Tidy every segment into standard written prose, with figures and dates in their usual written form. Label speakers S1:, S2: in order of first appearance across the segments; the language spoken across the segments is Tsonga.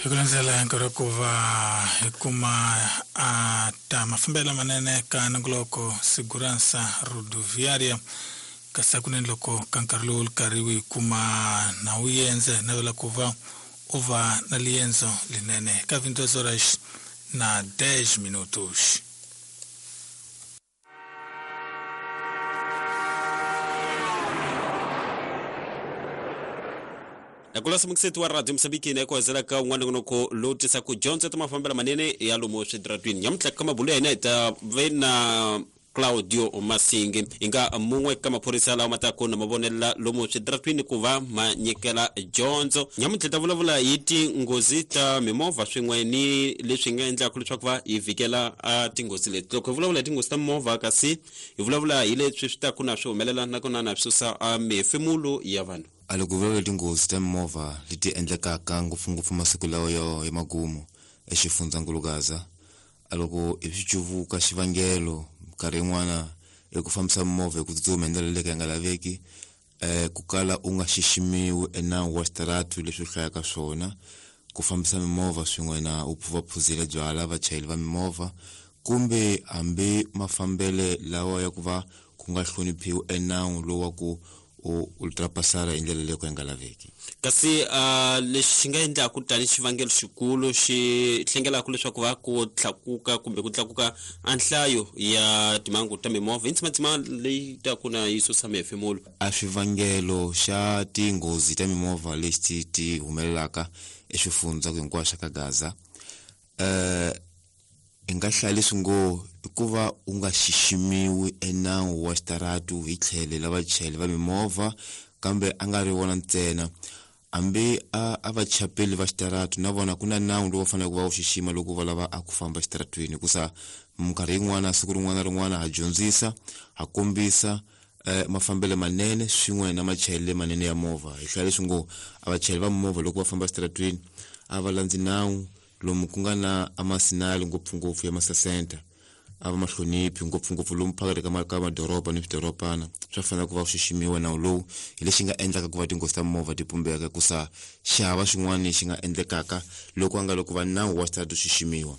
S1: Hi ku landzela nkarhi wa ku va hi kuma a ta mafambelo lamanene ka nongoloko Segurança Rodoviária, kasi hakunene loko ka nkarhi lowu karhi wu hi kuma na wu yendze, hi navela ku va u va na liendzo linene ka 22 horas na 10 minutos.
S2: Nakulasa mukiseti wa radio Mosambiki na ku ka un'wana nongonoko lowu tisaka dyondzo ta mafambelo manene ya lomu switaratwini. Nyamuntlha ka mabulo ya hina hi ta ve na Claudio Masingi, hi nga mun'we ka maphorisa lawa ma taku na mavonela lomu switaratwini ku va ma nyikela dyondzo. Nyamuntlha ta vulavula hi tinghozi ta mimovha swin'we ni leswi nga endlaka leswaku va hi vhikela a tinghozi leti. Loko hi vulavula hi tinghozi ta mimovha, kasi hi vulavula hi leswi swi taku na swi humelela nakona na swi susa a mihefemulo ya vanhu.
S3: A loko vulavula tinghozi ta mimovha leti endlekaka ngopfungopfu masiku lawa ya magumu exifundzankulu Gaza, a loko hi swi cuvuka xivangelo minkarhi yin'wana i ku fambisa mimovha hi ku tsutsuma hi ndlela leyi ka yi nga laveki, ku kala u nga xiximiwi enawu wa xitaratu leswi u hlayaka swona, ku fambisa mimovha swin'we na u va phuzile byala vachayeri va mimovha, kumbe hambi mafambele lawa ya ku va ku nga hloniphiwi enawu lowu wa ku u ultrapasara hi ndlela leyi ka yi nga laveki.
S2: Kasi lexi xi nga endlaku tani xivangelo xikulu xi hlengelaka leswaku va ku tlakuka kumbe ku tlakuka a nhlayo ya timhangu ta mimovha i ntsimatsima leyi taku na yi susa mihefemulo.
S3: A xivangelo xa tinghozi ta mimovha lexi ti humelelaka eswifundza hinkwaswo ka Gaza, hi nga hlaya leswi ngo i ku va u nga xiximiwi enawu wa xitaratu hi tlhelo la vachayeri va mimovha, kambe a nga ri vona ntsena, hambi a vachapeli va xitaratu na vona ku na nawu lowu va faneleke ku va wu xixima loko va lava a ku famba exitaratwini, hikusa minkarhi yin'wana siku rin'wana na rin'wana ha dyondzisa, ha kombisa mafambelo manene swin'we na machayelelo manene ya movha. Hi hlaya leswi ngo a vachayeri va mimovha loko va famba exitaratwini a va landzi nawu lomu ku nga na amasinali ngopfungopfu ya masasenta, a va mahloniphi ngopfungopfu lomu phakathi ka madoroba ni swidorobana, swa fanele ku va xiximiwa nawu lowu. Hi lexi nga endlaka ku va tinghozi ta mimovha ti pumbeka, hikusa xihava xin'wana xi nga endlekaka loko a nga loko va nawu wa xitaratu xiximiwa.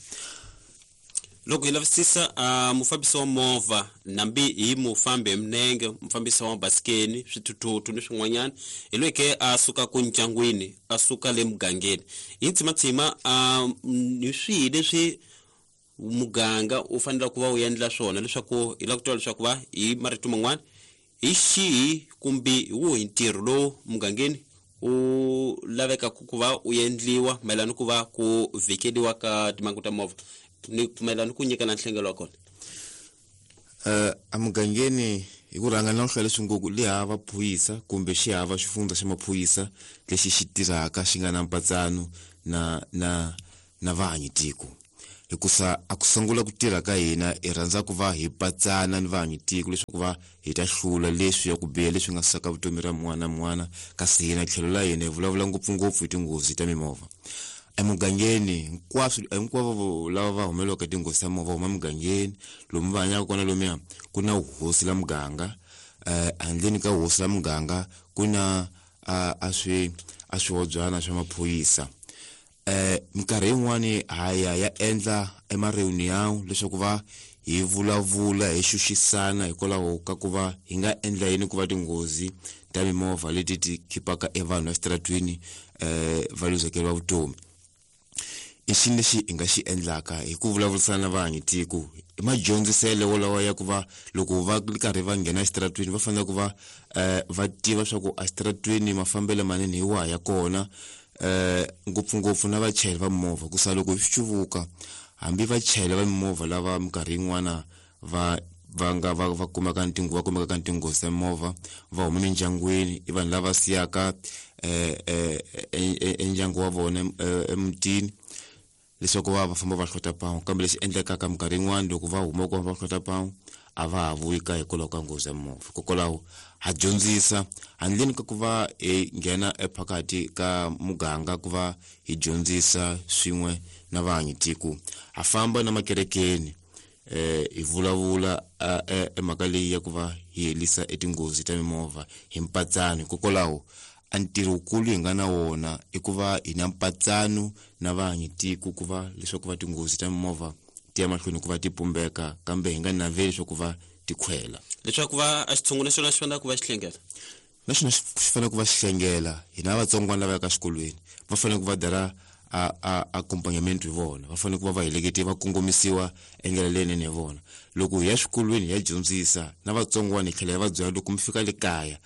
S2: Loko hi lavisisa mufambisi wa movha, nambi hi mufambi hi minenge, mufambisi wa basikeni, swithuthuthu ni swin'wanyana, hi loyi ke a suka ku ndyangwini, a suka le mugangeni. Hi ntsimatsima hi swihi leswi muganga u fanele ku va u endla swona leswaku hi lava ku twa leswaku va hi marito man'wana hi xihi kumbe hi wuhi ntirho lowu mugangeni u lavekaka ku va u endliwa mayelana ku va ku vhikeliwa ka timhangu ta movha ni mayelana ku nyikana nhlengelo wa kona?
S3: Emugangeni hi ku rhanga na ku hlaya leswi ngo le hava phorisa kumbe xi hava xifundza xa maphorisa lexi xi tirhaka xi nga na mpatsano na vahanyi tiko, hikusa a ku sungula ku tirha ka hina hi rhandza ku va hi patsana ni vahanyi tiko leswaku va hi ta hlula leswi ya ku biha leswi nga susaka vutomi ra mun'wana na mun'wana, kasi hina tlhelo la hina hi vulavula ngopfungopfu hi tinghozi ta mimovha. Emugangeni hinkwavo lava va humelelaka tinghozi ta mimovha huma emugangeni lomu va hanyaka kona, lomuya ku na hosi la muganga, handleni ka hosi la muganga ku na a swihobyana swa maphorisa. Minkarhi yin'wani ha ya endla ema-reunion leswaku va hi vulavula hi xuxisana hikwalaho ka ku va hi nga endla yini ku va tinghozi ta mimovha leti ti khipaka evanhu exitaratwini va luzekeriwa vutomi. I xini lexi hi nga xi endlaka hi ku vulavurisana na vahanyi tiko? I madyondziselo wolawa ya ku va loko va ri karhi va nghena exitaratwini va fanele ku va va tiva swa ku exitaratwini mafambelo manene hi wahi ya kona, ngopfungopfu na vachayeri va mimovha, ku sa loko hi swi cuvuka hambi vachayeri va mimovha lava minkarhi yin'wana va va nga va kumeka va kumeka ka tinghozi ta mimovha va huma emindyangwini, i vanhu lava siyaka endyangu wa vona emutini leswaku va famba va hlota pawu, kambe lexi endlekaka minkarhi yin'wana loko va huma ku va hlota pawu a va ha vuyi ka hikwalaho ka nghozi ya mimovha. Hikokwalaho ha dyondzisa handleni ka ku va hi nghena ephakathi ka muganga ku va hi dyondzisa swin'we na vahanyi tiko, ha famba na makerekeni hi vulavula emhaka leyi ya ku va hi herisa etinghozi ta mimovha hi mpatsano. Hikokwalaho A ntirho wukulu hi nga na wona i ku va hi na mpatsano na vahanyi tiko ku va leswaku va tinghozi ta mimovha ti ya mahlweni ku va ti pumbeka, kambe hi nga naveli leswaku va ti khwela.
S2: Leswaku va a xitshungu na xona xi fanele ku va xi hlengela.
S3: Na xona xi fanele ku va xi hlengela. Hina vatsongwana lava yaka xikolweni va fanele ku va dara a accompagnament hi vona, va fanele ku va va helekete va kongomisiwa endlela leyinene hi vona. Loko hi ya swikolweni hi ya dyondzisa na vatsongwana, hi tlhela hi va byela loko mi fika le kaya,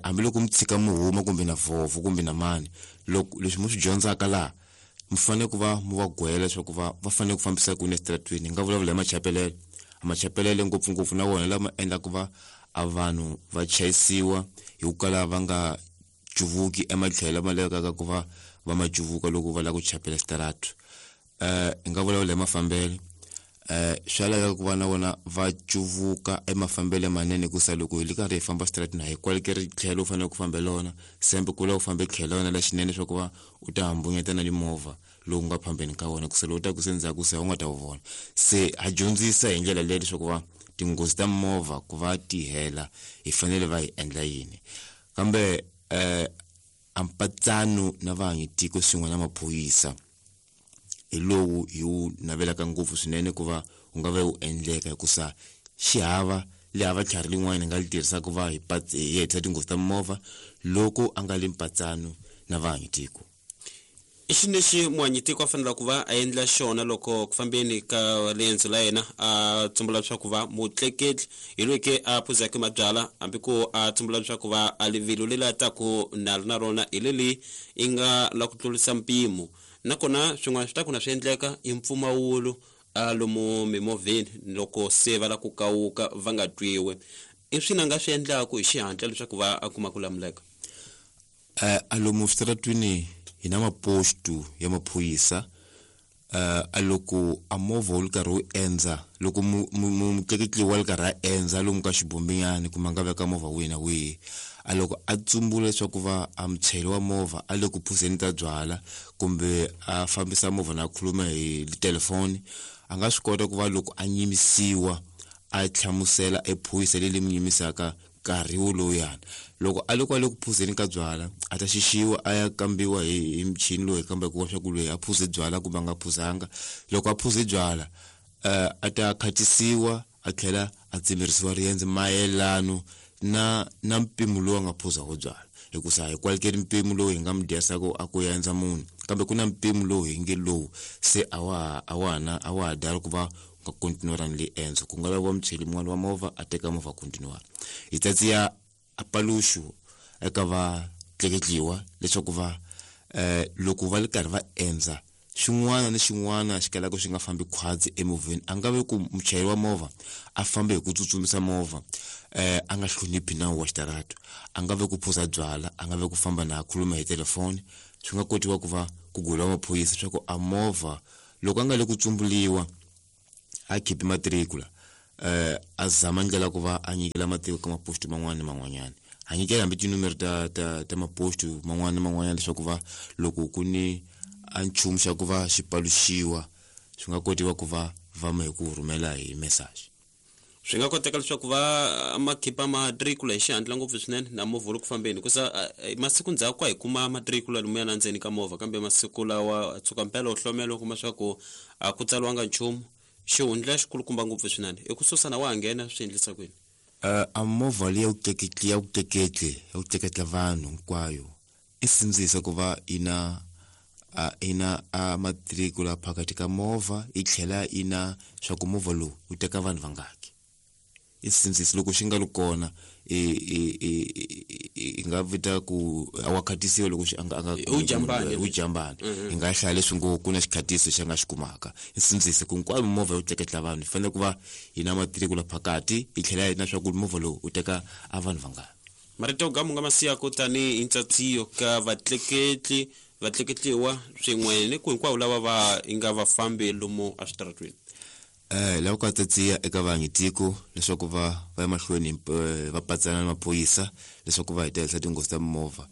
S3: hambiloko mi tshika mi huma kumbe na vhovho kumbe na mani, loko leswi mi swi dyondzaka laha mi fanele ku va mi va gwela leswaku va fanele ku fambisa ku yini eswitarateni. Hi nga vulavula hi machapelelo, machapelelo ngopfungopfu na wona lama endlaka va a vanhu va chayisiwa hi ku kala va nga cuvuki ematlhelo lama lavekaka ku va va ma cuvuka loko va lava ku chapela xitarato. Hi nga vulavula hi mafambelo, swa laveka ku va na vona va cuvuka emafambelo manene, hikusa loko hi ri karhi hi famba xitaratini a hi kwalekeri tlhelo u fanele ku fambe lona, sembe ku la u fambe tlhelo la wena la xinene leswaku va u ta hambunyeta na mimovha lowu nga phambeni ka wena, kusa lowu taku se ndzhaku se u nga ta wu vona. Se ha dyondzisa hi ndlela leyi leswaku va tinghozi ta mimovha ku va ti hela hi fanele va hi endla yini. Kambe a mpatsano na vahanyi tiko swin'we na maphorisa hi lowu hi wu navelaka ngopfu swinene ku va wu nga va wu endleka, hikusa xihava le hava tlhari lin'wana hi nga li tirhisaka ku va hi hetisa tinghozi ta mimovha loko a nga le mpatsano na vahanyi tiko.
S2: I xini lexi muhanyi tiko a fanele ku va a endla xona loko ku fambeni ka riendzo la yena a tsumbula leswaku va mutleketli hi loyi ke a phuzaka mabyalwa, hambi ku a tsumbula leswaku va a rivilo leri a taku na na rona hi leli i nga la ku tlurisa mpimo, nakona swin'wana swi ta ku na swi endleka i mpfumawulo a lomu mimovheni loko se va la ku kawuka va nga twiwi, i swini a nga swi endlaku hi xihatla leswaku va a kuma ku lamuleka?
S3: A lomu switaratwini hi na maposto ya maphorisa. A loko a movha wu ri karhi wu endza, loko mutleketli wa ri karhi a endza lomu ka xibombinyana kumbe a nga veka movha wihi na wihi, a loko a tsumbula leswaku va a muchayeri wa movha a le ku phuzeni ta byala kumbe a fambisa movha na khuluma hi telefoni, a nga swi kota ku va loko a nyimisiwa a hlamusela ephorisa leri mi nyimisaka nkarhi wolowuyana. Loko a loko a le ku phuzeni ka byala a ta xixiwa a ya kambiwa hi michini loyi kambaka wa swa ku loyi a phuze byala kumbe a nga phuzanga. Loko a phuze byala, a ta khatisiwa a tlhela a tsemerisiwa riendzo mayelano na mpimo lowu a nga phuza wo byala, hikusa hi kwalekeri mpimo lowu hi nga mi dyasaka a ku endza munhu, kambe ku na mpimo lowu hi nge lowu se a wa a wa na a wa ha dala ku va nga continuera ni le endzo, ku nga laviwa muchayeri mun'wana wa movha a teka movha a continuera. Hi tsatsiya a paluxu eka va tleketliwa leswaku va loko va ri karhi va endza xin'wana ni xin'wana xi kalaka xi nga fambi khwatsi emovheni, a nga vi ku muchayeri wa movha a fambe hi ku tsutsumisa movha, a nga hloniphi nawu wa xitarato, a nga vi ku phuza byala, a nga vi ku famba na khuluma hi telefoni. Swi nga kotiwa ku va ku gula maphorisa leswaku a movha loko a nga le ku tsumbuliwa a khipi matricula, a zama ndlela ku va a nyikela matiko ka maposto man'wana ni man'wanyana, a nyikela hambi tinumero ta maposto man'wana ni man'wanyana leswaku va loko ku ni a nchumu xa ku va xi paluxiwa swi nga kotiwa ku va va ma hi ku rhumela hi message.
S2: Swi nga koteka leswaku va ma khipa matricula hi xihatla ngopfu swinene na movha wu ri ku fambeni, hikusa masiku ndzhaku a hi kuma matricula lomuya na ndzeni ka movha, kambe masiku lawa tshuka mpela u hlomela u kuma swa ku a ku tsariwanga nchumu, xihundla xikulukumba ngopfu swinene i ku susa na wa ha nghena swi endlisa kwini?
S3: A movha leyi ya ku tleketla ya ku tleketla ya ku tleketla vanhu hinkwayo i sindzisa ku va yi na i na a matricula phakathi ka movha, yi tlhela yi na swa ku movha lowu wu teka vanhu vangaki. I sindzisa loko xi nga ri kona i nga vita ku a wa khatisiwa loko xi a nga
S2: U jambani.
S3: U jambani. Hi nga hlaya leswi ngo ku na xikhatiso xi nga xi kumaka. I sindzisa ku hinkwayo mimovha yo tleketla vanhu yi fanele ku va yi na matricula phakathi, yi tlhela yi na swa ku movha lowu wu teka a vanhu vangani.
S2: Marito ga mu nga ma siyaka tanihi ntsatsiyo ka vatleketli vatleketliwa swin'we ni ku hinkwavo lava va nga vafambi lomu eswitaratweni?
S3: Lava ku tsatsiya eka vahanyi tiko leswaku va va ya mahlweni va patsana na maphorisa leswaku va hetelela tinghozi ta mimovha,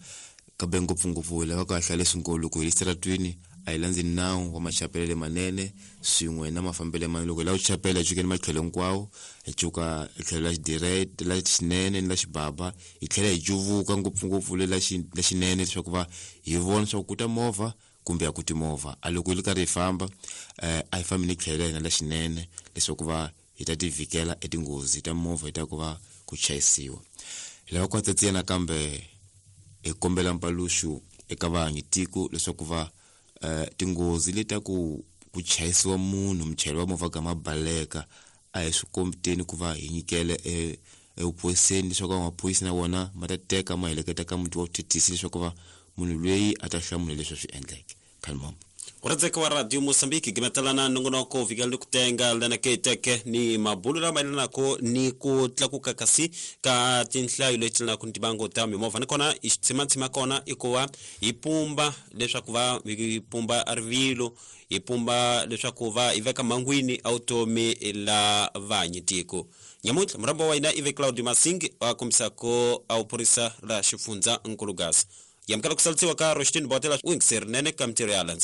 S3: kambe ngopfungopfu lava ku hlaya leswi ngo loko hi le xitaratwini a A hi landzi nawu wa machapelele manene swin'we na mafambele manene. Loko hi lava ku chapela hi cukeni matlhelo hinkwawo, hi cuka hi tlhelo la xidirete la xinene ni la xibaba, hi tlhela hi cuvuka ngopfungopfu le la xinene leswaku va hi vona leswaku ku ta movha kumbe a ku ti movha. A loko hi ri karhi hi famba a hi fambi ni tlhelo la hina la xinene leswaku va hi ta tivikela etinghozi ta movha hi ta ku va ku chayisiwa. Hi lava ku hatsatsiya nakambe hi kombela mpaluxu eka vahanyi tiko leswaku va tinghozi leti ta ku ku chayisiwa munhu muchayeri wa movha gama baleka a hi swi kombiteni ku va hi nyikele evuphoriseni leswaku maphorisa na wona ma ta teka ma heleketa ka muti wa vuthethisi leswaku va munhu loyi a ta hlamula leswi a swi endleke. Khalmombo.
S2: Uradzeka wa Radio Mosambiki gimetelana nongonoko vikela ni ku tenga lana ke teke ni mabulo lama yelanako ni ku tlakuka kasi ka tinhlayo leti yelanaka ni tibango ta mimovha. Nakona i xitshimatsima kona i ku va hi pumba leswaku va hi pumba rivilo, hi pumba leswaku va hi veka mhangwini a vutomi la vanyi tiko. Nyamuntlha murhambo wa hina i ve Claudio Masingi a kombisako a vuphorisa la xifundza Nkulugasa. Yamukela ku salisiwa ka Roshtin Botela u yingiseri nene ka mintirho ya landza.